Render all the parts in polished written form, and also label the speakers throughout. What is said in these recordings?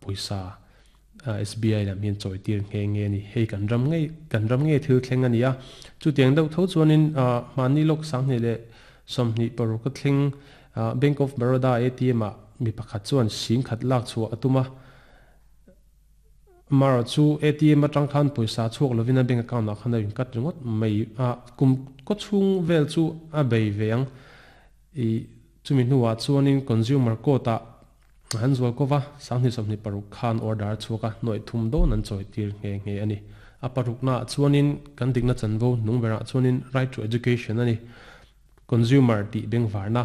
Speaker 1: Pawisa SBI lam hian chawi tir nghe nghe a ni. Hei kan ram ngei kan ram ngei thil thleng a ni a. Chutiang deuh tho chuanin mahni lawk 2026 a thleng Bank of Baroda ATM ah mi pakhat chuan sing khat lak chhuah a tum a. Amaherawh chu ATM atang khan pawisa chhuak lovin a bank account ah khan a incut ringawt mai a. Kum kawchhung vel chu a bei ve ang. Ih chumi hnuah chuanin Consumer Court ah An zual ko va, 2026 khan order a chhuak a, nuaih thum dawn an chawi tir nghe nghe a ni. A paruknaah chuanin kan dikna chanvo hnung berah chuanin Right to Education a ni. Consumer tih bengvarna.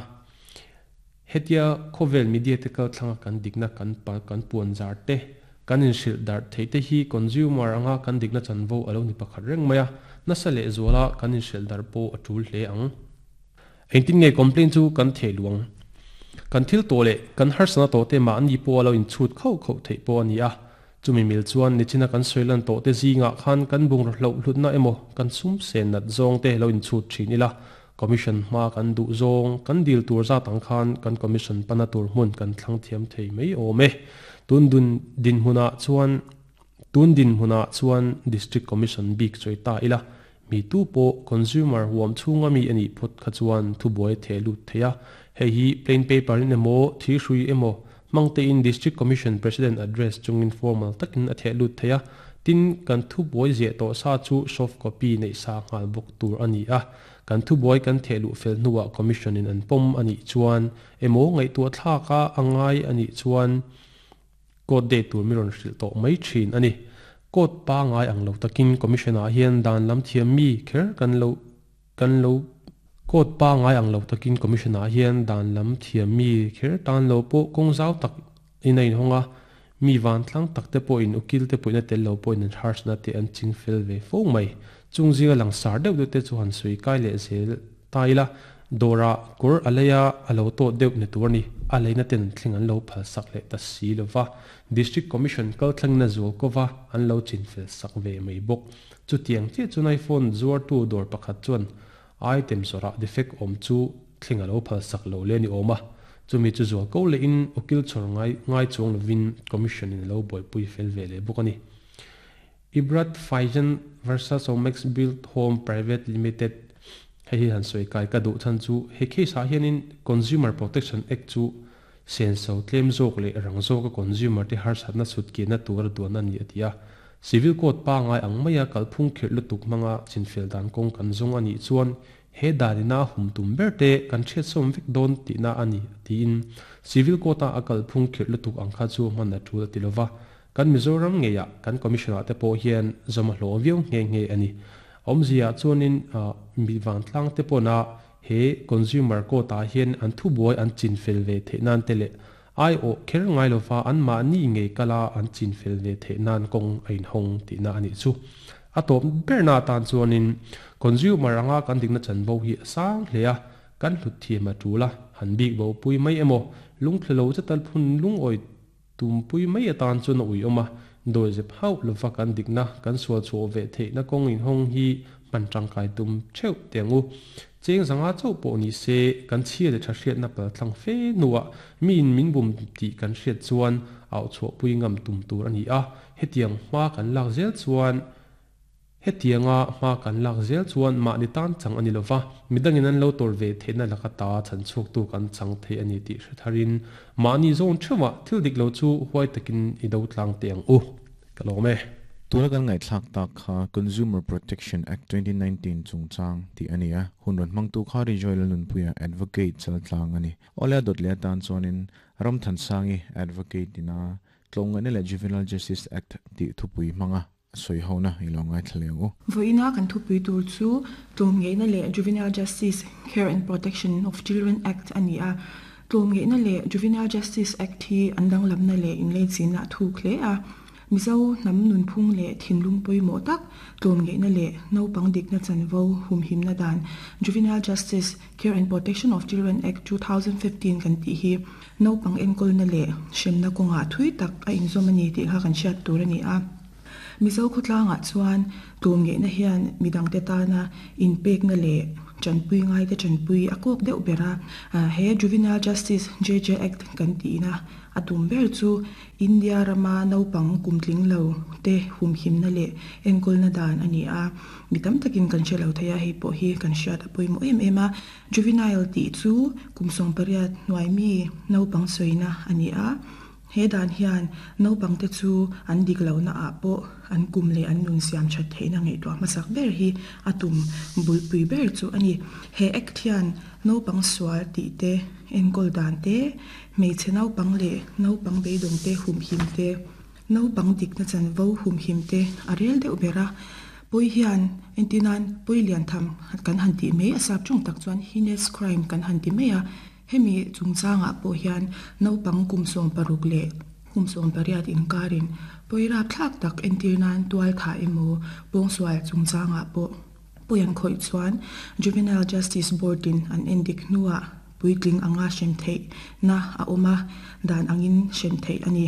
Speaker 1: Hetia khawvel media te kal thlanga kan dikna kan kan puan zar te, kan inhrilh darh theih te hi consumer anga kan dikna chanvo a lo ni pakhat reng mai a, nasa lehzuala kan inhrilh darh pawh a tul hle ang. Engtin nge complaint chu kan theh luang? Kan thil tawh leh kan harsana tawh te mahni pawh a lo inchhut khauh khauh theih pawh a ni a. Chumi mil chuan nichina kan sawi lan tawh te zingah khan kan bungraw hloh hlutna emaw kan sum sen nat zawng te lo inchhut thin ila, commission hma kan duh zawng kan dil tur zat ang khan kan commission pana tur hmun kan thlang thiam thei mai awm e. Tun dun dinhmunah chuan Tun dinhmunah chuan District Commission bik chawi ta ila, mi tu pawh consumer huam chhunga mi a nih phawt kha chuan thubuai a theh lut thei a. Hei hi plain paper in emaw, thirhrui emaw hmang tein District Commission President address chungin formal takin a theh lut thei a. Tin, kan thubuai ziah tawh sa chu soft copy neih sa nghal bawk tur a ni a. Kan thubuai kan theh luh fel hnuah Commission in an pawm a nih chuan emaw ngaihtuah thlak a a ngai a nih chuan, Court date tur mi rawn hrilh tawh mai thin a ni. Court pangai ang lo takin Commission ah hian dan lam thiam mi kher kan lo kan lo Court pangai ang lo takin Commission ah hian dan lam thiam mi kher tan lo pawh kawng zau tak in a inhawng a, mi vantlang tak te pawhin ukil te pawhin a tel lo pawhin an harsna te an ching fel ve fo mai. Chung zinga langsar deuh deuh te chu han sawi kai leh zel Ta ila, dawrah kawr a lei a, a lo tawt deuh ni tur a ni. A leina ten thleng an lo phal sak leh ta si lo va. District Commission kal thlengin a zual ko va, an lo chin fel sak ve mai bawk. Chutiang chiah chuan iPhone zuartu dawr pakhat chuan item zawrah defect awm chu thleng a lo phal sak lo le ni awm a. Chumi chu zual ko lehin ukil chhawr ngai ngai chuang lovin Commission in a lo buaipui fel ve leh bawk a ni. Ibrat Faizan versus Omax Build Home Private Limited Hei hi han sawi kai ka duh chhan chu he case ah hianin Consumer Protection Act chu senso tlem zawk leh rang zawka consumer te harsatna chhut kianna tura duan a ni a ti a. Civil Code pangai ang maia kalphung khirh lutuk hmanga chinfel dan kawng kan zawng a nih chuan he danina a hum tum ber te kan hriatsawm vek dawn tihna a ni a tiin Civil Code-a a kalphung khirh lutuk ang kha chu hman a tul a ti lova. Kan Mizoram ngeiah kan Commission ah te pawh hian zawm a hlawh viau nghe nghe a ni. Awmzia chuanin mi vantlang te pawna he Consumer Court ah hian an thubuai an chinfel ve theih nan te leh aiawh kher ngai lova anmahni ngei kala an chinfel ve theih nan kawng a inhawng tihna a nih chu. A tawp berna atan chuanin Consumer anga kan dikna chanvo hi a sang hle a, kan hlut thiam a tul a, han bik bo pui mai emaw lungthlu lo chatal phun lungawi Tumpui mai atan chuan a ui awm a, dawizep hauh lova kan dikna, kan sual chhuah ve theihna kawng inhawng hi hman tangkai tum theuh teh ang u. Cheng zanga chauh pawh ni se, kan chhia leh tha hriatna pal thlang fe hnuah miin min bum tih kan hriat chuan auh chhuahpui ngam tum tur a ni a, hetiang hma kan lak zel chuan, Hetianga hma kan lak zel chuan mahni tan chang a ni lova, midangin an lo tawrh ve theihna laka ta chhan chhuaktu kan chang thei a ni tih hre tharin mahni zawn theuhah thil dik lo chu huai takin i do tlang teh ang u. Ka lawm e.
Speaker 2: Tuna kan ngaihthlak tak kha Consumer Protection Act 2019 chungchang tih a ni a, hun rawn hmangtu kha Rijoy Lalnunpuia Advocate chaltlang a ni. Awle a dawt leh atan chuanin Ramthansangi Advocate ina Tlawmngaihna leh Juvenile Justice Act tih thupui hmanga A sawi ho na i lo ngaithla leh ang u.
Speaker 3: Vawiina kan thupui tur chu Tlawmngeihna leh Juvenile Justice, Care and Protection of Children Act a ni a. Tlawmngeihna leh Juvenile Justice Act hi an danglamna leh inleichina a thuk hle a. Mizo hnam nunphung leh thinlung pawimawh tak tlawmngeihna leh naupang dikna chanvo humhimna dan Juvenile Justice, Care and Protection of Children Act 2015 kan tih hi naupang enkawlna leh hremna kawngah thui tak a inzawm a ni tih kha kan hriat tur a ni a. Mizo khawtlangah chuan tlawmngaihna hian midangte tana inpekna leh tanpui ngaite tanpui a kawk deuh ber a. He Juvenile Justice, JJ Act, kan tihna a tum ber chu India rama naupang kumtling lo te humhimna leh enkawlna dan a ni a. Mi tam takin kan hre lo thei a, hei pawh hi kan hriat a pawimawh em em a. Juvenile tih chu kum 18 hnuai mi naupang sawina a ni a. He dan hian naupangte chu an dik lohna ah pawh an kum leh an nun siam that theihna ngaihtuah hmasak ber hi a tum bulpui ber chu a ni. He Act hian naupang sual tih te, enkawl dan te, hmeichhe naupang leh naupang beidawng te humhim te, naupang dikna chanvo humhim te a rel deuh ber a. Pawi hian entirnan pawi lian tham kan han tih mai a sap tawng tak chuan heinous crime kan han ti mai a. Hemi chungchangah pawh hian naupang kum 16 leh kum 18 inkarin pawi rapthlak tak entir nan tual thah emaw pawngsual chungchangah pawh pawi an khawih chuan Juvenile Justice Board in an endik hnuah puitling anga hrem theihna a awm a, dan angin hrem theih a ni.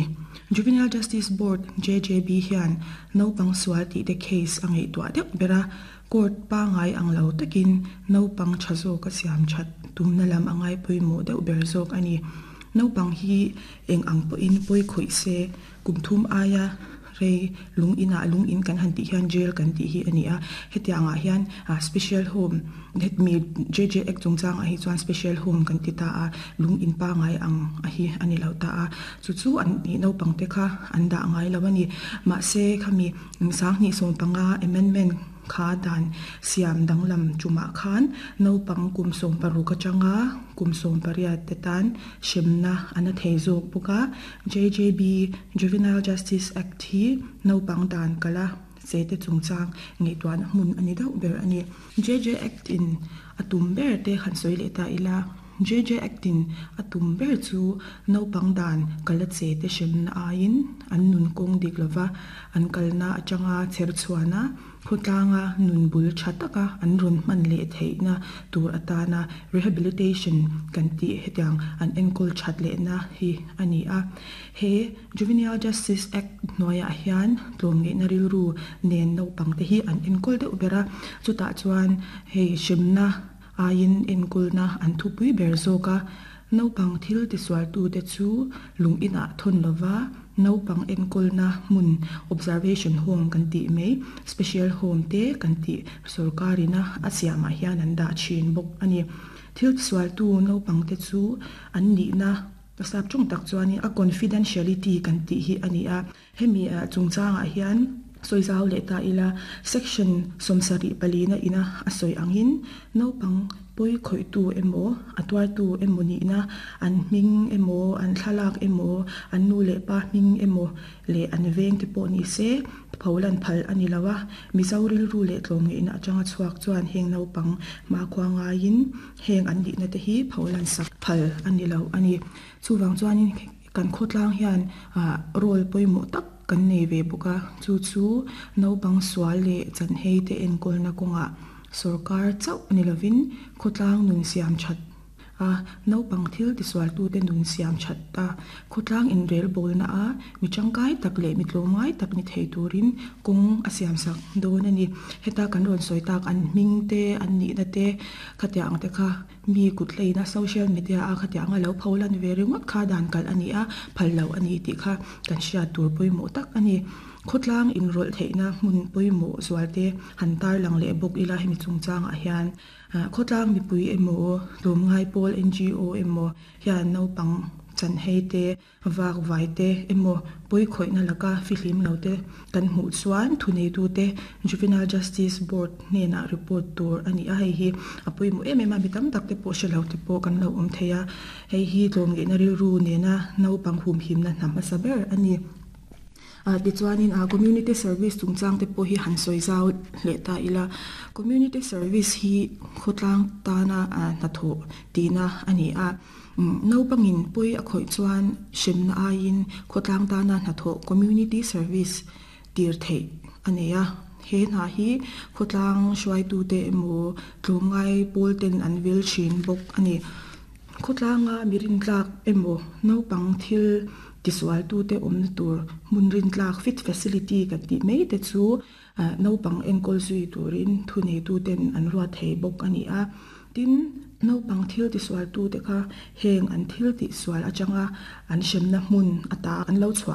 Speaker 3: Juvenile Justice Board, JJB, hian naupang sual tihte case a ngaihtuah deuh ber a, Court pangai ang lo takin naupang tha zawk a siam that tumna lam a ngai pawimawh deuh ber zawk a ni. Naupang hi eng ang pawhin pawi khawih se, kum thum aia rei lung inah lung in kan han tih hian jail kan tih hi a ni a. Hetiangah hian special home hetmi JJ Act chungchangah hi chuan special home kan ti ta a, lung in pangai ang a hi a ni lo ta a. Chu chu an naupang te kha an dah ngai lo a ni. Mahse khami 2015 amendment kha dan siam danglam tumah khan naupang kum 16 atanga kum 18 te tan hremna a na thei zawk bawk a. JJB, Juvenile Justice Act, hi naupang dan kala che te chungchang ngaihtuahna hmun a ni deuh ber a ni. JJ Act in a tum ber te han sawi leh ta ila. JJ Act in a tum ber chu naupang dan kala che te hremna aiin an nun kawng dik lova an kalna atanga chher chhuana khawtlanga nun bul tha taka an rawn hman leh theihna tur atana rehabilitation kan tih hetiang an enkawl that lehna hi a ni a. He Juvenile Justice Act hnuaiah hian tlawmngaihna rilru nen naupang te hi an enkawl deuh ber a, chutah chuan hei hremna aiin enkawlna an thupui ber zawk a. Naupang thil tisualtute chu lung inah thawn lova naupang enkawlna hmun observation home kan tih mai, special home te kan tih sorkarina a siamah hian an dah thin bawk a ni. Thil tisualtu naupangte chu an nihna sap tawng tak chuanin a confidentiality kan tih hi a ni a. Hemi chungchangah hian sawi zau leh ta ila, Section 74 na ina a sawi angin naupang pawi khawihtu emaw, a tuartu emaw nihna, an hming emaw, an thlalak emaw, an nu leh pa hming emaw leh an veng te pawh ni se pholan phal a ni lo a. Mizo rilru leh tlawmngaihna atanga chhuak chuan heng naupang hmakhua ngaiin heng an nihna te hi pholan sak phal a ni lo a ni. Chuvang chuanin kan khawtlang hian role pawimawh tak kan nei ve bawk a, chu chu naupang sual leh chanhei te enkawlna kawngah sorkar chauh ni lovin khawtlang nun siam that a, naupang thil tisualtute nun siam that a, khawtlang inrelbawlna a mi tangkai tak leh mi tlawmngai tak ni thei turin kawng a siamsak dawn a ni. Heta kan rawn sawi tak an hming te, an nihna te khatiang ang te kha mi kut hleina social media a khatiang a lo pho lan ve ringawt kha dan kalh a ni a, phal loh a ni tih kha kan hriat tur pawimawh tak a ni. Khawtlang inrawlh theihna hmun pawimawh zualte han tarlang leh bawk ila hemi chungchangah hian khawtlang mipui emaw tlawmngai pawl NGO emaw hian naupang chanhei te Vak vai te emaw pawi khawihna laka fihlim lo te kan hmuh chuan thuneitute Juvenile Justice Board hnenah report tur a ni a, hei hi a pawimawh em em a, mi tam tak te pawh hre lo te pawh kan lo awm thei a, hei hi tlawmngaihna rilru nena naupang humhimna hna hmasa ber a ni. Tichuanin Community Service chungchang te pawh hi han sawi zau leh ta ila, Community Service hi khawtlang tana hnathawh tihna a ni a. Naupangin pawi a khawih chuan hremna aiin khawtlang tana hnathawh community service tir theih a nei a. He hna hi khawtlang hruaitute emaw tlawmngai pawl ten an vil thin bawk a ni. Khawtlanga mi rintlak emaw naupang thil. Tisualtute awmna tur hmun rintlak fit facility kan tih mai te chu naupang enkawl zui turin thuneituten an ruat thei bawk a ni a. Tin, naupang thil tisualtute kha heng an thil tihsual atanga an hremna hmun ata an lo chhuah.